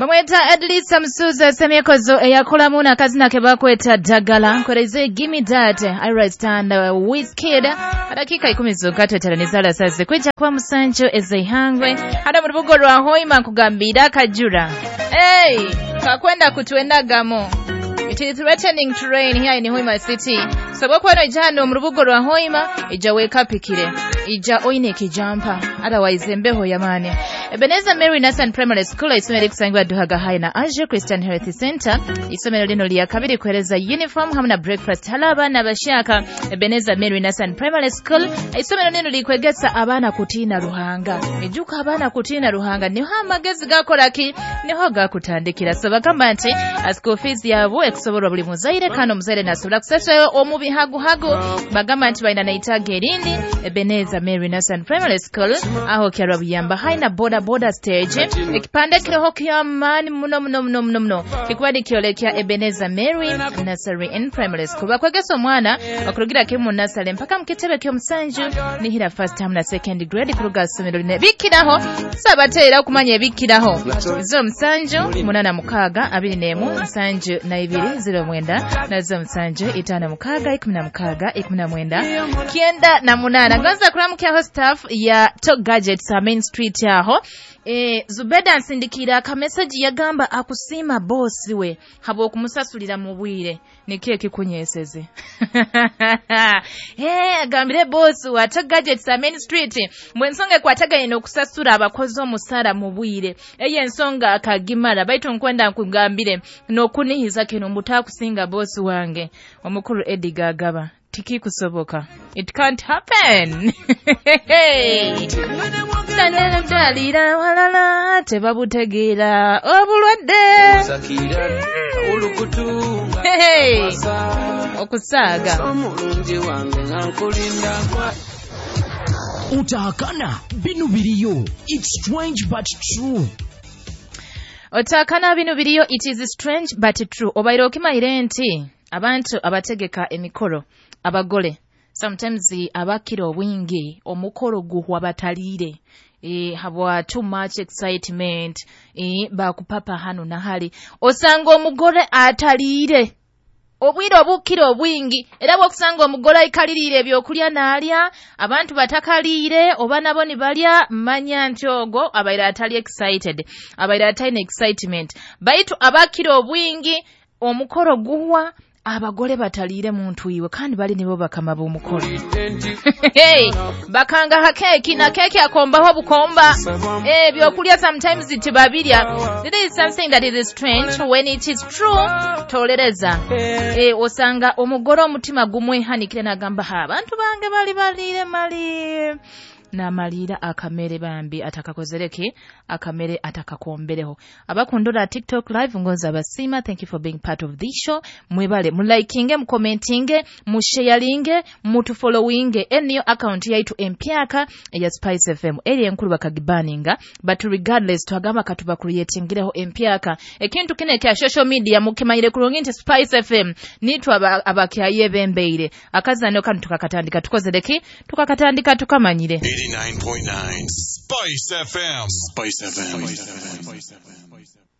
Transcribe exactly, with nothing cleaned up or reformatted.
Bamweta Edlisa Musuza Semyekozo eyakolamu n'akazina ke bakweta Dagala nkoreze Gimme That Ira Stand uh, Wizkid. Dakika ikumi zokka tweteranizala saze kwijja kwa musanju ezeihangwe hano mu rubugo rwa Hoima nkugambira akajura. Hey, kakwenda kutwendagamo. It is threatening to rain here in Hoima City. So bwokuba ija hano mu rubugo rwa Hoima ija wekapikire ija oine ekijampa, otherwise embeho yamaani. Ebenezer Mary Nathan Primary School, isomero likusangibwa Duhaga High na Asia Christian Health Center. Isomero lino lya kabiri kuhereza uniform hamwe na breakfast hala abaana abashaka. Ebenezer Mary Nathan Primary School, isomero lino likwegesa abaana kutiina Ruhanga. Ejuka abaana kutiina Ruhanga niho amagezi gakora ki, niho gakutandikira. So bagamba nti school fees yabo ekusoborwa buli muzaire, kandi omuzaire nasobola kusasula omu bihaguhagu. Bagamba nti balina naitaaga erindi. Ebenezer Mary Nathan Primary School aho kyarwa Buyamba High na boda boda stage. Ekipande kiriho kyamaani muno muno muno muno muno kikuba nikyolekya Ebenezer Mary Nursery and Primary School. Bakwegesa omwana okurugira kimu mu nursery mpaka mu kitebe ky'omusanju nihira first term na second grade kuruga ssomero line bikiraho. Sabateera okumanya ebikiraho zo musanju munana mukaaga abiri n'emu nsanju na ibiri zero mwenda na zo musanju itaano mukaaga ikumi na mukaaga ikumi na mwenda kyenda na munaana. Ngonza kuramukyaho staff ya Top Gadgets ha Main Street aho. E, Zubeda nsindikira akameseji yagamba akusiima bosi we habw'okumusasulira mu bwire. Nikyo ekikunyeseze. Hey, agambire bosi wa Top Gadgets ha Main Street mwe ensonga ekwataganye n'okusasula abakozi omusara mu bwire, eyo ensonga akagimala. Baitu nkwenda nkugambire n'okunihiza kino mbutakusinga bosi wange omukulu Eddie Gagaba, tikikusoboka. It can't happen. Dalira walala tebabutegeera obulwadde. Hey, okusaaga. Utahakana binu biriyo. It's strange but true. Otakana binu biriyo, it is strange but true. Obaire okimayire nti abantu abategeka emikoro abagole sometimes abakira obwingi omukoro guhwa bataliire, e, habwa too much excitement, e, bakupapa hano na hali. Osanga omugole ataliire obwire obukira obwingi, era bwokusanga omugole aikaliriire ebyokulya n'alya, abantu batakaliire oba nabo nibalya, manya nti ogwo abaire atali excited, abaire atalina excitement. Baitu abakira obwingi omukoro guhwa abagole bataliire muntu iwe, kandi bali nibo bakama b'omukolo. Hey, bakanga ha keeki na keeki akombaho bukomba ebyokulya sometimes tibabirya. This is something that is strange when it is true. Tolereza. Eh, osanga omugole omutima gumwehanikire n'agamba ha abantu bange bali baliire mali n'amaliira akamere bambi atakakozereke akamere atakakombereho. Abakundura TikTok live ngonza abasiima, thank you for being part of this show. Mwebale mulikinge, mukomentinge, musharinge, mutufollowinge eniyo account yaitu empyaka eya Spice F M eri enkulu bakagibaninga, but regardless twagamba katuba creatingireho empyaka ekintu kine kya social media mukimanyire kurungi nti Spice F M nitwe abakyayebembeire akazano kanu tukakatandika tukozereki tukakatandika tukamanyire. Eighty-nine point nine Spice F M. Spice F M. Spice F M.